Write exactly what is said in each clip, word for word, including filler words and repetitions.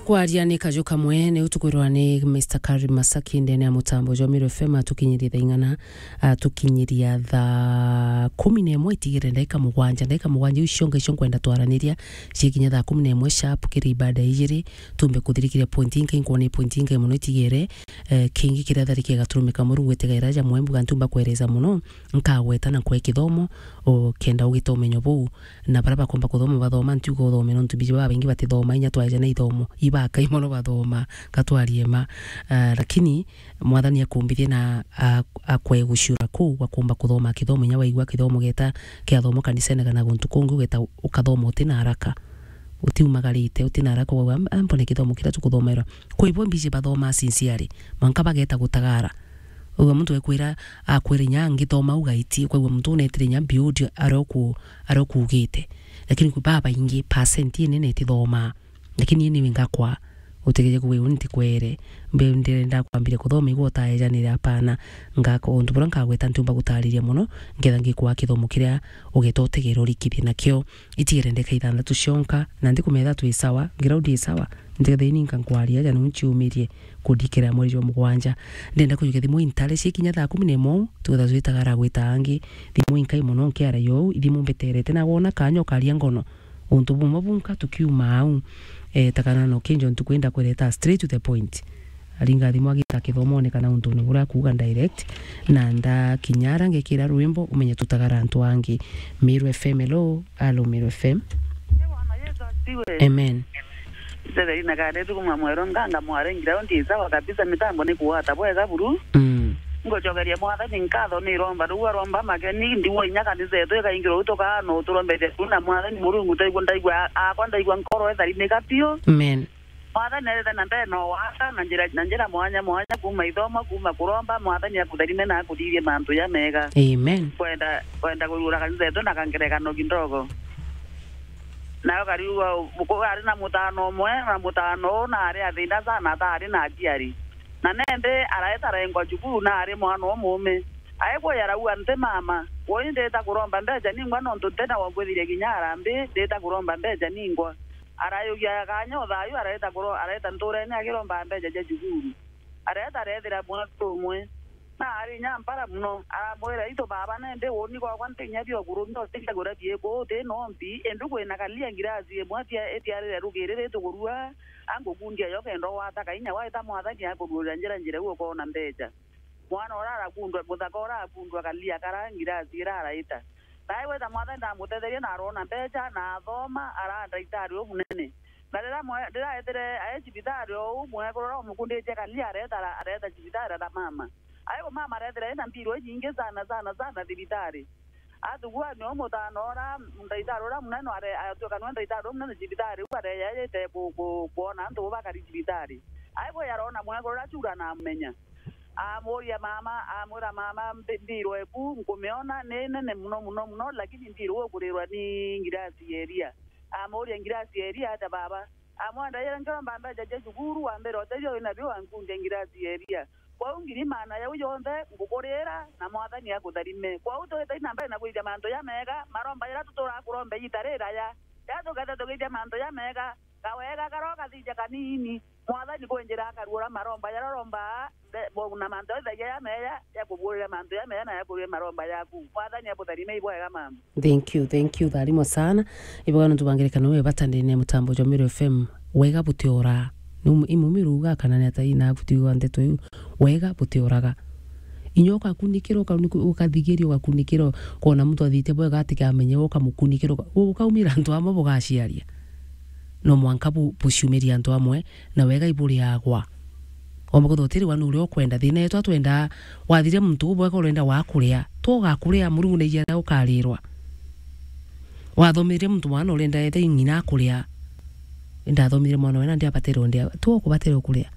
Kwaria ni kaju kamwe, ni utukwirwa ni Mister Karim Masaki ndene ya mutambo jwa Meru F M, atukinyirie thaa ing'ana, atukinyiria thaa kumi na imwe itigire ndagika mugwanja. Ndagika mugwanja iu cionka icio nkwenda twaraniria, cikinya thaa kumi na imwe sharp kiri ibada ijiri, tumbe kuthirikiria point inkai, nkwona point inkai mono itigire, eh, kingi kiria tharike gaturumika Murungu etigaira ja mwembu gantumba kwereza mono, nkagweta na nkwe kithomo, o kenda ugite umenyo buu, na baria bakomba kuthoma bathoma, ntiuga uthome nontu biji babaingi batithoma, inya twaeja na ithomo, ibakai mono bathoma, katwarie ma. Ah, lakini Mwathani akumbithie na a-, akwe guciura kuu gwa kumba kuthoma kithomo, inya waigua kithomo geta kiathomwa kanisene kana guntu kungi, ugeta ukathoma uti na haraka. Utiumagarite, uti na haraka, ugauga, "Am-, ambone kithomo kiria tukuthomerwa." Kwi bo mbiji bathoma sincerely, mwanka bageta gutagara. Ugwe muntu ekwira, akwira inya ngithoma ugaitie, ukaigua muntu unetire inya build aria uku-, aria ukuugite. Lakini kwi babaingi, percent inene itithomaa. Lakini ini ngakwa, utegeje kuuga uni ntikwere, mbe ndirenda kwambire kuthoma igwe utaejanire, apana. Ngaka untu buria nkagweta ntiumba gutariria mono, ngetha ngikwa kithomo kiria ugeta utegere urikithie nakio. Itigere ndeka ithanthatu cionka, na ndikumetha twi sawa, ground i sawa, ntikethira ini nkankwaria aja niu nciumirie kundikira mweri jwa mugwanja. Ndenda kujukia thimu intare cikinya thaa kumi na imwe, tugetha twitaga ara gwita angi. Thimu inkai mono nkiara yo, ithimu mbeterete, na wona kanya ukaria ngono. Untu bumwe bunka tukiuma au, eh, takana no kinjo ntukwenda kwireta straight to the point. Aringa thimu agita kithomone kana untune buria akuuga direct, na ndakinya ara ngekira rwimbo, umenye tutagara antu angi. Meru F M, hello. Hello, Meru F M. Bwana Yesu asifiwe. Amen. Ntetherie na kare tukuma mwero nganga mware ngira ndi sawa kabisa, mitambo ni kuwata bwega buru. Mm. Ngucokeria Mwathani nkatho ni romba, riu aromba makeni, ndigwa inya kanisa yetu ikaingirwa utukaa no turomberia tu na Mwathani Murungu, ndaigua, ndaigua, akwa ndaigua nkoro etharinika piu. Amen. Mwathani arete na mbere no waka na njira, na njira mwanya mwanya, kuuma ithomo, kuuma kuromba, Mwathani akutharime na akuthithie mantu ja mega. Amen. Kwenda, kwenda kugura kanisa yetu na kangerekano kindogo. Nayo kariuga, ari na mutano umwe, na mutano uu naari athina sana, ataari na aciari. Na nende araeta arengwa cukuru, naari mwana umuume. Aigwa arauga, nti mama, woi ndita kuromba mbeca ningwa, nontu ntina wa ngwithirie kinya arambi, ndita kuromba mbeca ningwa. Arayugia kanya o thayu, areta kuro-, areta nturene akiromba mbeca cia cukuru. Areta arethira mwana umwe. Na ari inya mpara mono, aramwira, "Itu baba, nende uuni gwakwa nti inya biokuru, ndosi ntiagura biiku, uti nombi, indi kwina kalia ngirasi imwe atia-, itiarire rugiri ritukurua, angukundia yo kenda ugwata kainya waita Mwathani akuruurira njira, njira iu ukoona mbeca." Mwana uria arakundwa, muthaka uria arakundwa kalia kara ngirasi ira araita. Nae gwita Mwathani ndamutetherie na aroona mbeca, na athoma, araa ndaitari umunene. Na riria mwe-, riria aetire ae cibitari, o uu mwekuru uria umukunditie kalia areta, areta cibitari ara mama. Aigwa mama arethira ena mbirwa inyingi sana, sana, sana thibitari. Athugua nio mutano ura, ndaitari ura munene are-, atuika nio ndaitari ura munene cibitari, u areyaite ku-, ku-, kwona antu bakari cibitari. Aigwa yarona mwekuru ura cura na amumenya. Amuria mama, amwira, "Mama, mbi-, mbirwa eku nkumiona ni nene muno, muno, muno, lakini mbirwa ukurirwa ni ngirasi ya iria." Amuria, "Ngirasi ya iria atia baba?" Amwenda, "Ira nkiromba mbeca cia cukuru, wa mbere utethio wina bio wankundia ngirasi ya iria. Kwou ngiri maana yau yonthe ngukurira, na Mwathani akutharime." Kwou twite na mbere na kwithia mantu jamega, maromba jaria tuturaga kuromba igiita riraya. Riria tukethira tugithia mantu jamega, kawega karia ukathithia kanini, Mwathani kwi njira akaruura maromba jaria urombaa, nde-, bo-, na mantu jonthe jaria jameja, jakubuurira mantu jameja na jakururia maromba jaku. Mwathani abutharime ibwega mama. Thank you, thank you, tharimo sana. Ibwega nontu bwa ngerekano iu ya bata ndene ya mutambo jwa Meru F M. Wega butioraa. Ni umu-, imumiru uga kana ni atai na butiwa ndeto iu. Wega butioraga. Inya ukakunikira, uka-, ukathigiria, ukakunikira, ukona muntu athite bwega atikamenye, ukamukunikira, uka-, ukaumira antu amwe bugaciaria. No mwanka bu-, buciumiria antu amwe, na wega iburiagwa. Omba kwithirwa utiri wanu uria ukwenda. Thina yetu atwendaa, wathire muntu ubwega urenda wakuria. Twoga kuria, Murungu naijia na ukarirwa. Wathomithire muntu mwana urenda ethe ng'ina akuria. Ndathomithire mwana wena ndiabatere ndia. Twoga kubatere ukuria.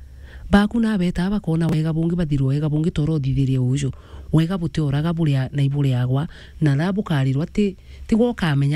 Baku na beta bakona wega bungi bathirwa wega bungi toro uthithirie uju. Wega butioraga buria na iburiagwa, na na bukarirwa ti, tigwa ukamenya